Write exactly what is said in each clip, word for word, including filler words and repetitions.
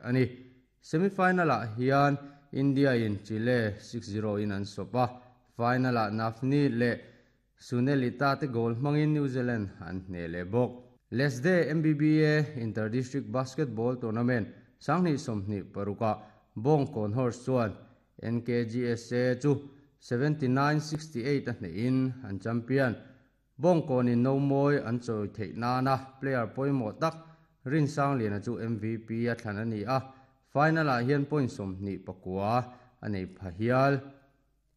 ani. Semifinal ah hian India in Chile six zero in an sawp a, final ah Navni leh Sunelita te goal hmangin New Zealand an hne leh bawk. Lesde M B B A Inter-District Basketball Tournament sanghnih sawmhnih parukah Bawngkawn Horse chuan N K G S A chu seventy-nine sixty-eight a hnehin an champion. Bawngkawn in no mawi an chawi theih nana player pawimawh tak Rin Sangliana chu M V P a thlan a ni a, final ah hian point sawmhnih pakua a nei pha hial.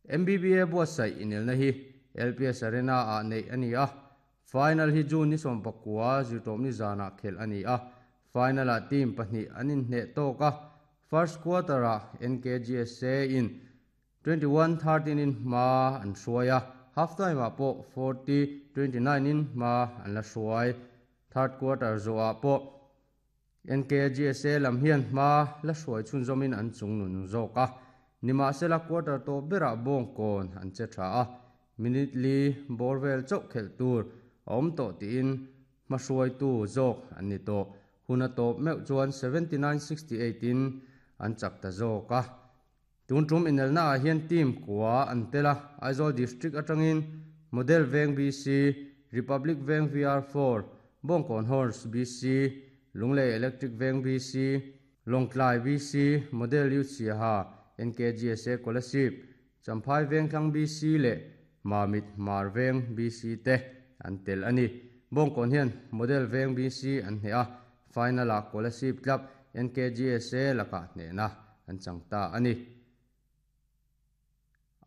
M B B A buatsaih inelna hi L P S Arena ah neih a ni a, final hi June ni sawm pakua zirtawp ni zanah khelh a ni a, final ah team pahnih an inhneh tawk a, first quarter ah N K G S A in twenty-one thirteen in hma an hruai a, half time ah pawh forty twenty-nine in hma an la hruai. Third quarter zawhah pawh N K G S A lam hian hma la hruai chhunzawmin an chung nun zawk a, nimahsela quarter tawp berah Bawngkawn an che tha a, minute li bawr vel chauh khelh tur a awm tawh tiin hma hruaitu zawk an ni tawh. Hun a tawp meuh chuan seventy-nine sixty-eight in an chak ta zawk a. Tun tum inelna ah hian team kua an tel a, Aizawl District atangin Model Veng B C, Republic Veng V R four, Bawngkawn Horse B C, Lunglei Electric Veng B C, Lawngtlai B C, Model Youth Siaha, N K G S A Kolasib, Champhai Veng Thlang B C leh Mamit Mar Veng B C te an tel ani. Bawngkawn hian Model Veng B C an hne a, final ah Kolasib Club N K G S A lakah hnehna an chang ta ani.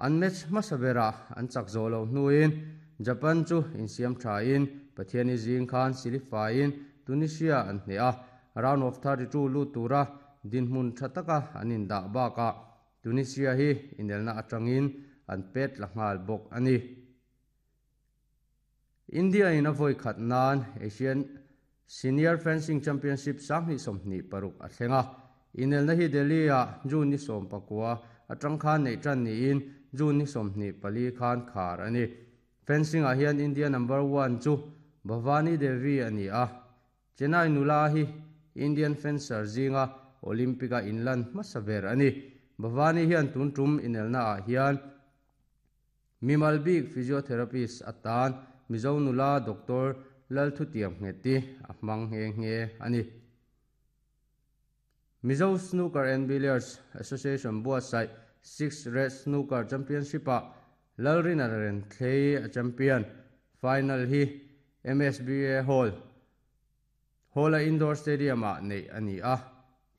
An match hmasabera an chak zawh lo hnuin Japan chu insiam tha in Pathiani zing khan Silifa in Tunisia an hne a, round of thirty-two lut tura dinhmun tha taka an indah bakah Tunisia hi inelna atangin an pet la nghal bawk ani. India in a vawi khat nan Asian Senior Fencing Championship sanghnih sawmhnih paruk a thlenga, inelna hi Delhi ah June ni sawm pakua atang khan nei tan niin June ni sawmhnih pali khan khar ani. Fencing ah hian India number one chu Bhavani Devi ani a, Chennai nula hi Indian fencer zinga Olympic a inlan hmasa ber ani. Bhavani hian tun tum inelna ah hian Mimal bik physiotherapist atan Mizo nula Doctor Lalthutiam Ngeti a hmang nge nge ani. Mizo Snooker and Billiards Association buatsaih Six Red Snooker Championship ah Lalrina Ren Thlei a champion. Final hi M S B A Hall Hall a Indoor Stadium ah nei ani a,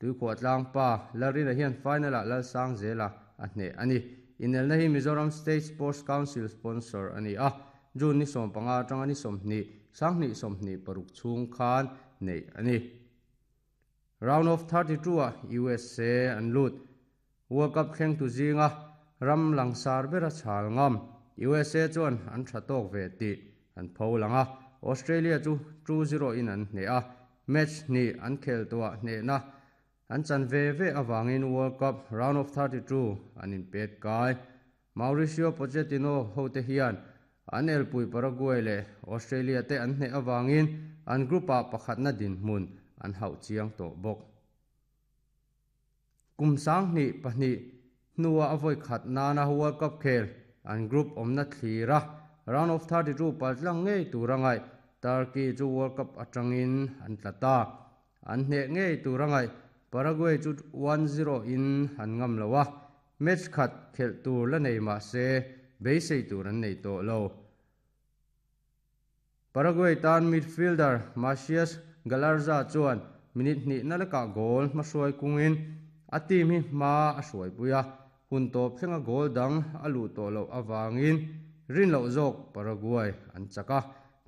tuikhuah tlang pa Lalrina hian final ah Lalsang zela a hne ani. Inelna hi Mizoram State Sports Council sponsor ani a, June ni sawm panga atanga ni sawmhnih sanghnih sawmhnih paruk chhung khan nei ani. Round of thirty-two ah U S A an lut. World Cup thleng tu zinga ram langsar bera chhal ngam U S A chuan an tha tawk ve ti an pho langa, Australia chu two zero in an hne a, match ni an khel tuah hne na an chan ve ve awangin World Cup round of thirty-two an in pet kai. Mauricio Pochettino hote hian an elpui Paraguay leh Australia te an hne awangin an group ah pakhatna din hmun an hauh chiang tawh bawk. Kum sanghnih pahnih hnuah a vawi khat nana World Cup khel an group awmna thlira round of thirty-two paltlang ngei turangai Turkey chu World Cup atangin an tlata, an hne ngei turangai Paraguay chu one zero in an ngam lowa, match khat khel tur la nei ma se beisei tur an nei tawh lo. Paraguay tan midfielder Matias Galarza chuan minute hnih na leka goal hmahruai kungin a team hi hma a hruai puia, hun tawp thlenga goal dang a luh tawh loh awangin rin loh zawk Paraguay an chaka,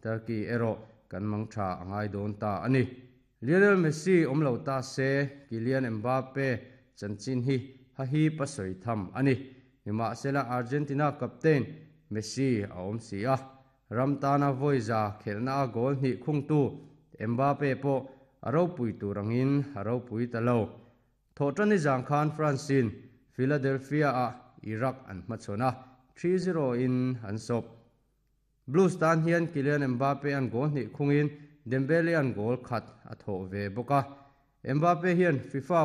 Turkey erawh kan mang tha angai dawn ta ani. Lionel Messi awm lo ta se Kylian Mbappe chanchin hi ha hi pasoi tham ani. Nimahsela Argentina captain Messi a awm si a, Ramtana voiza khelna a goal hnih khung tu Mbappe pawh a ropui turangin a ropui ta lo. Thawhṭani zang khan Francine Philadelphia ah Iraq an hmachhawn a, three zero in an sawp. Blues tan hian Kylian Mbappe an goal hnih khungin Dembele an goal khat a thawh ve bawk a. Mbappe hian FIFA